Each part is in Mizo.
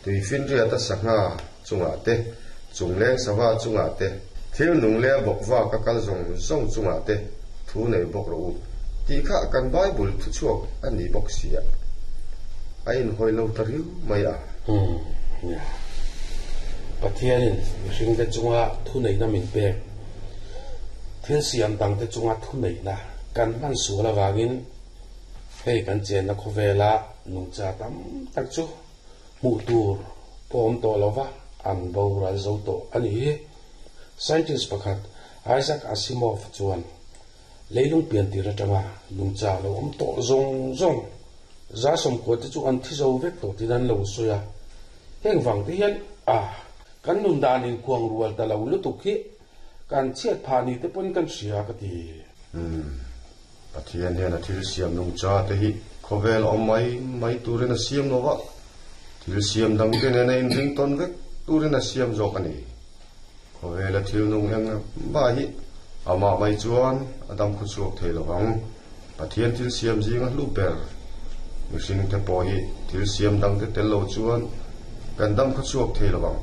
Tuifinriata sangha chungah te, chungleng sava chungah te, thil nung leh a bawk vak a kal zawng zawng chungah te thu nei bawk rawh u tih kha kan Bible thuchhuak a ni bawk si a, a inhawi lo ta riau mai a. Umm nia. Pathianin mihringte chunga thuneihna min pek, thil siam dangte chunga thuneihna kan hman sual avangin hei kan chenna khawvela nungcha tam tak chu hmuh tur pawh awm tawh lova an boral zo tawh a ni hi. Scientist pakhat Isaac Asimov chuan leilung pian tir atanga nungcha lo awm tawh zawng zawng 190 te chu an thi zo vek tawh tiin an lo sawi a. Heng vang te hian a kan nun dan inkuang rual ta lo lutuk hi kan chhiat phah ni te pawn kan hria ka ti. Umm. Pathian hian a thil siam nungcha te hi khawvel awm mai mai turin a siam lo va, thil siam dang te nena inring tawn vek turin a siam zawk a ni. Khawvela thil nung eng mah hi amah mai chuan a dam khaw chhuak thei lo vang. Pathian thil siam zinga hlu ber mihring te pawh hi thil siam dang te tel lo chuan kan dam khaw chhuak thei lo vang.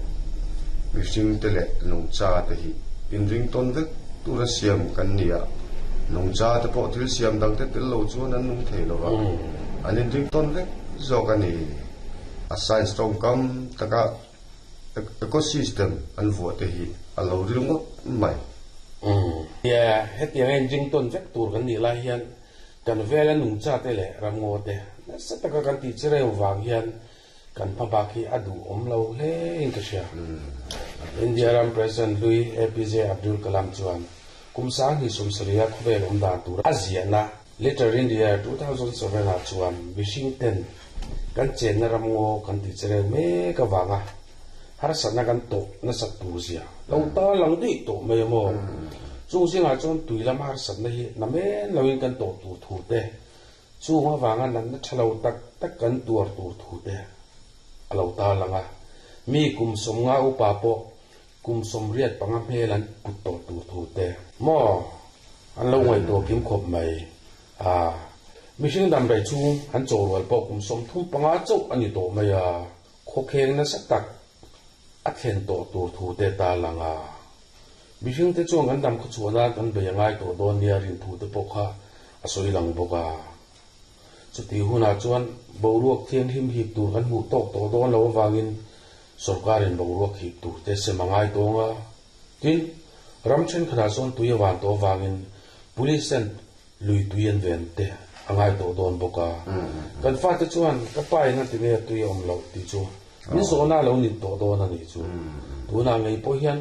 Mihring te leh nungcha te hi inring tawn vek tura siam kan ni a, nungcha te pawh thil siam dang te tel lo chuan an nung thei lo va, an inring tawn vek zawk a ni. A science tawngkam taka ecosystem an vuah te hi a lo ril ngawt mai. Nia, hetianga inring tawn vek tur kan nih lai hian kan vela nungcha te leh ramngaw te nasa taka kan tih chereu vang hian Kan hmabak hi a duhawm lo hle in ka hria. India ram President hlui APJ Abdul Kalam chuan kum sang 27 khawvel awm dan tur a ziahna Letter in the Air 2007 ah chuan mihring ten kan chenna ram ngaw kan tih chereu mek avanga harsatna kan tawh nasat tur zia lo ta lang duih tawh mai a maw? Chung zingah chuan tui lama harsatna hi namen loin kan tawh tur thu te Chung avanga natna tha lo tak tak kan tuar tur thu te a lo tarlang a, mi kum 50 upa pawh kum 85 hmel an put tawh tur thu te maw an lo ngaihtuah kim khawp mai a. Mihring damdawi chhung an chaw rual pawh kum 35 chauh a ni tawh mai a, khawkheng nasa tak a thlen tawh tur thu te tarlang a. Mihring te chuan kan dam khaw chhuah nan kan bei a ngai tawh dawn nia rin thu te pawh kha a sawi lang bawk a. Chutih hunah chuan boruak thianghlim hip tur kan hmuh tawk tawh dawn lo avangin sorkarin boruak hip tur te sem a ngai tawng a. Tin, ram thenkhatah chuan tui a van tawh avangin police ten lui tui an ven te a ngai tawh dawn bawk a. Kan fate chuan ka pa in a ti nge tui a awm loh tih chu min zawhna a lo nin tawh dawn a nih chu. Tunah ngei pawh hian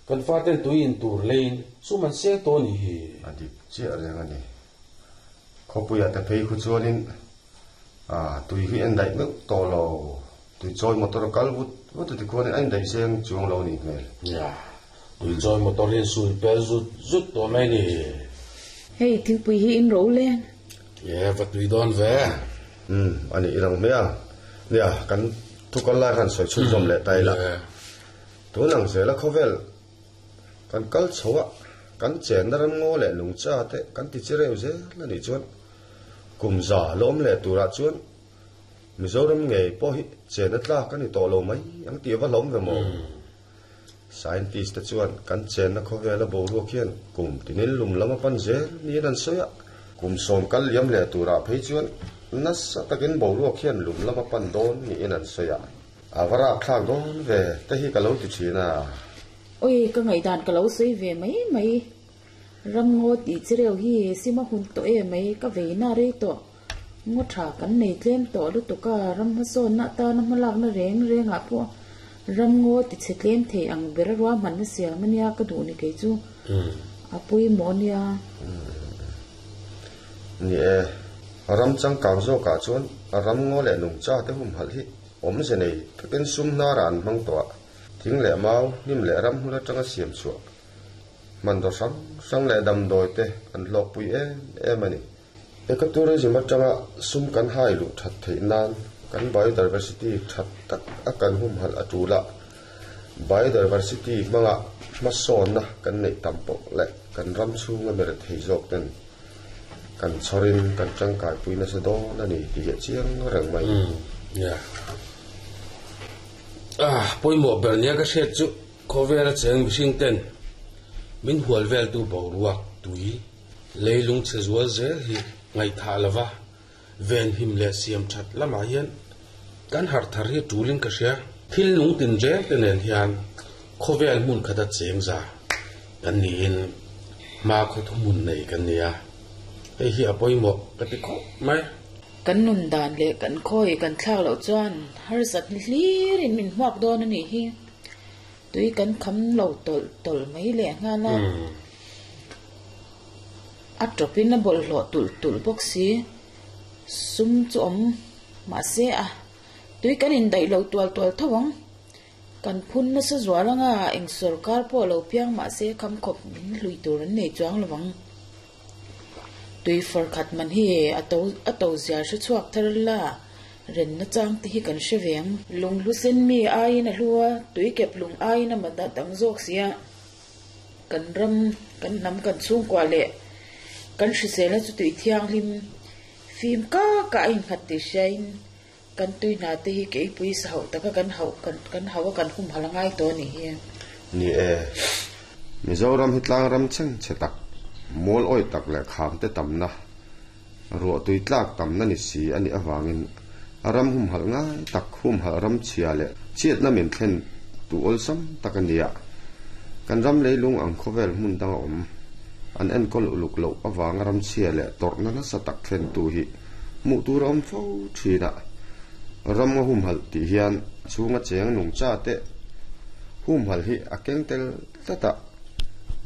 Kan faten tui in tur leiin sum an seng tawh a nih hi. A dik chiah reng a ni. Khawpuiah te phei khu chuanin tui hi en daih meuh tawh lo. Tui chawi motor a kal vut vut a tikhuanin a indaih seng chuang lo a nih hmel. Nia, tui chawi motor hi sui pel zut zut tawh mai a ni. Hei thingpui hi in ro leng. E, va tui dawn ve. Umm, a nih i lang hmel ang. Nia, kan thu kal lai khan sawi chhunzawm leh ta ila. Tun ang zela khawvel kan kal chho a, kan chenna ram ngaw leh lungcha te kan ti chi reu zel a nih chuan kum za lawm leh turah chuan Mizoram ngei pawh hi chenna tlak a ni tawh lo mai ang tih a va hlawm ve maw? Scientist te chuan kan chenna khawvela boruak hian kum tinin lum lam a pan zel niin an sawi a, kum 10 kal liam leh turah phei chuan nasa takin boruak hian lum lam a pan dawn niin an sawi a. A va rap thlak dawn ve te hi ka lo ti thin a. Oi, ka ngaihdan ka lo sawi ve mai mai. Ramngaw tih chi reuh hi sima hun tawh e mai, ka vei na rei tawh. Ngaw tha kan nei tlem tawh lutuk a, ram hmasawnna atana hmalakna reng rengah pawh ramngaw ti chhe tlem thei ang ber a ruahmanna siam a nia ka duh ni kei chu. A pawimawh a nia. Ni e, ram changkang zawkah chuan ramngaw leh nungcha te humhalh hi Awmze nei takin sum hnarah an hmang tawh a, thing leh mau, hnim leh ram hmun atanga siam chhuah hmanraw hrang hrang leh damdawi te an hlawkpui em em a ni. Ecotourism atanga sum kan hai luh that theih nan kan biodiversity tha tak a kan humhalh a tul a, biodiversity hmanga hmasawnna kan neih tam pawh leh kan ram chhunga mer thei zawk ten Kan chhawrin kan tangkaipui nasa dawn a ni tih hi a chiang reng mai. Yeah. Pawimawh ber nia ka hriat chu khawvela cheng mihring ten min hual veltu boruak tui leilung chhe zual zel hi ngaihthah lova venhim leh siam that lamah hian kan harh thar hi tulin ka hria. Thil nung tinreng te nen hian khawvel hmun khata cheng za kan niin hma khaw thuhmun nei kan ni a, hei hi a pawimawh ka ti khawp mai. Kan nun dan leh kan khawi kan thlak loh chuan harsat ni hlirin min hmuak dawn a nih hi. Tui kan kham lo tawlh tawlh mai leh nghal a. A tawpin a bawlhhlawh tulh tulh bawk si. Sum chu awm mahse a tui kan indaih lo tual tual tho ang. Kan phun nasa zual anga eng sawrkar pawh lo piang mahse kham khawp min hlui tur an nei chuang lo vang. Tui far khat man hi a to a to zia hre chhuak thar la, renna chang te hi kan hre ve ang. Lunghlu sen mi aiin a hlu a, tui kep lung aiin a mat a tam zawk si a. Kan ram, kan hnam, kan chhungkua leh kan hriselna chu tui thianghlim fim kak ah a innghat tih hriain Kan tui hna te hi keipui sa hauh taka kan hauh kan hauh a kan humhalh a ngai tawh a nih hi. Ni e, Mizoram hi tlang ram chheng chhe tak, mual awi tak leh kham te tamna, ruah tui tlak tamna ni si a nih avangin a ram humhalh ngai tak humhalh ram chhia leh chhiatna min thlen tu awlsam tak a nia. Kan ram leilung ang khawvel hmun dang a awm, an enkawl uluk loh avanga ram chhia leh tawrhna nasa tak thlentu hi Hmuh tur a awm fo thin a, ram a humhalh tih hian a chhunga cheng nungcha te humhalh hi a keng tel tlat a,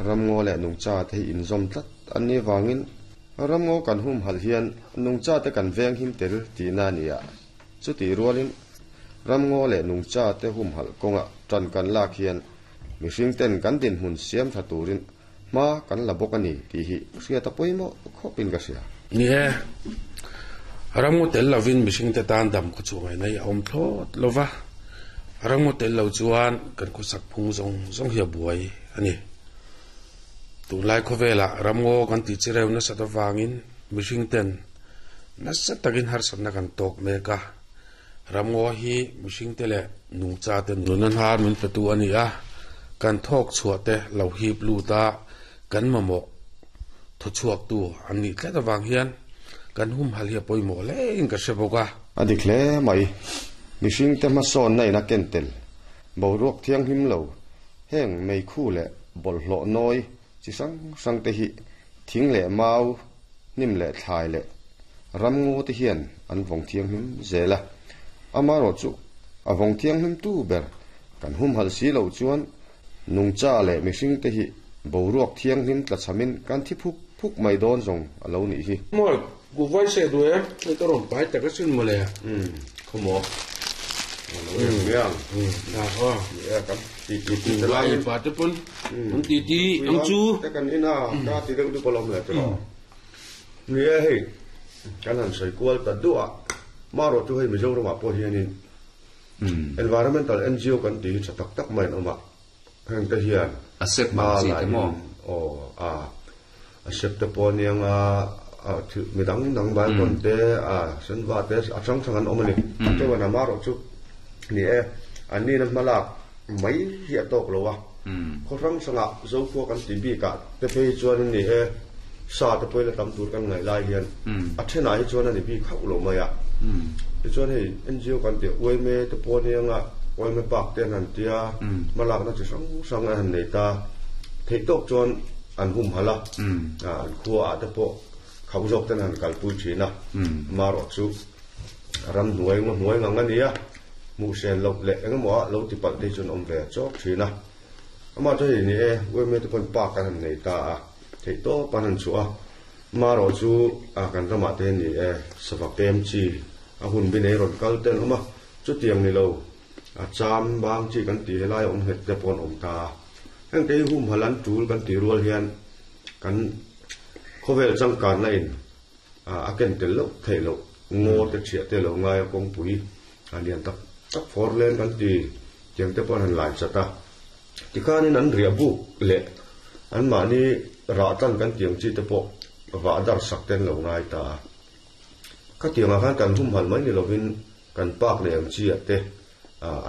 ramngaw leh nungcha te hi inzawm tlat an nih avangin ramngaw kan humhalh hian nungcha te kan veng him tel tihna a ni a, chutih rualin ramngaw leh nungcha te humhalh kawngah tan kan lak hian mihring ten kan dinhmun siam tha turin Hma kan la bawk a ni tih hi hriat a pawimawh khawpin ka hria. Ni e, ramngaw tel lovin mihringte tan dam khaw chhuah ngaihna hi a awm thlawt lo va, ramngaw tel lo chuan kan khawsak phung zawng zawng hi a buai a ni. Tunlai khawvelah ramngaw kan tih chi reu nasat avangin mihringten nasa takin harsatna kan tawk mek a, Ramngaw hi mihringte leh nungchate nuna hnar min petu a ni a, kan thawk chhuahte lo hip lut a, kan mamawh thawchhuaktu an nih tlat avang hian kan humhalh hi a pawimawh hlein ka hre bawk a. A dik hle mai. Mihringte hmasawnna in a ken tel. Boruak thianghlim lo, heng meikhu leh bawlhhlawh nawi chi hrang hrang te hi thing leh mau, hnim leh thlai leh ramngaw te hian an vawng thianghlim zel a. Amaherawh chu a vawng thianghlim tu ber kan humhalh si loh chuan nungcha leh mihring te hi boruak thianghlim tlachhamin kan thi phuk phuk mai dawn zawng a lo nih hi. Maw, ku vai se duh e, hei ka rawn pai tak asin mawle. Umm, khawmaw. A lo en mai ang. Umm, a aw. Ni e, kan ti ti ti te laiin. Pa te pawn an ti ti ang chu. Te kan in a, ka ti deuh dup alawm le te lo. Ni e hei, kan han sawi kual ta duh a, marawh chu hei Mizoramah pawh hianin Environmental NGO kan tih hi tha tak tak mai an awm a, heng te hian A sep mang chi te maw? Aw, a a sep te pawh aniang a, thil mi dang dang Baibon te, a senva te a hrang hrang an awm a ni. Chuan amarawh chu ni e, an nihna hmalak mai hi a tawk lo a, khaw hrang hrangah Zokhua kan tih bikah te phei hi chuan ni e, sa te pawhin a tam tur kan ngaih lai hian a thenah hi chuan a ni bik hauh lo mai a. Tichuan hei NGO kan tih UMA te pawh aniang a, UMA park te an han tia, hmalakna chi hrang hrang an han nei ta. Theih tawk chuan an humhalh a, an khuaah te pawh khauh zawk ten an han kalpui thin a, amaherawh chu ramhnuai ngaw hnuai ngang a ni a, hmuh hrian loh leh engemaw ah lo ti palh te hi chuan awm ve chawk thin a. Amah chu hei ni e, UMA te pawn park an han nei ta a, theih tawp an han chhuah a, amaherawh chu kan ramah te ni e, sava pem chi a hun bi nei rawn kal te an awm a, chutiang ni lo a cham bang chi kan tih helai a awm nghet te pawh an awm ta a. Heng te hi humhalh an tul kan tih rual hian kan khawvel changkanna in a ken tel loh theih loh ngaw te thiah te lo ngai a kawngpui a lian tak tak fawr leng kan ti tiang te pawh an han lai chat a tikhanin an riah buk leh anmahni rah tlan kan tiang chi te pawh vah dar sak te an lo ngai ta a khatiangah khan kan humhalh mai ni lovin kan park leh ang chi ah te an.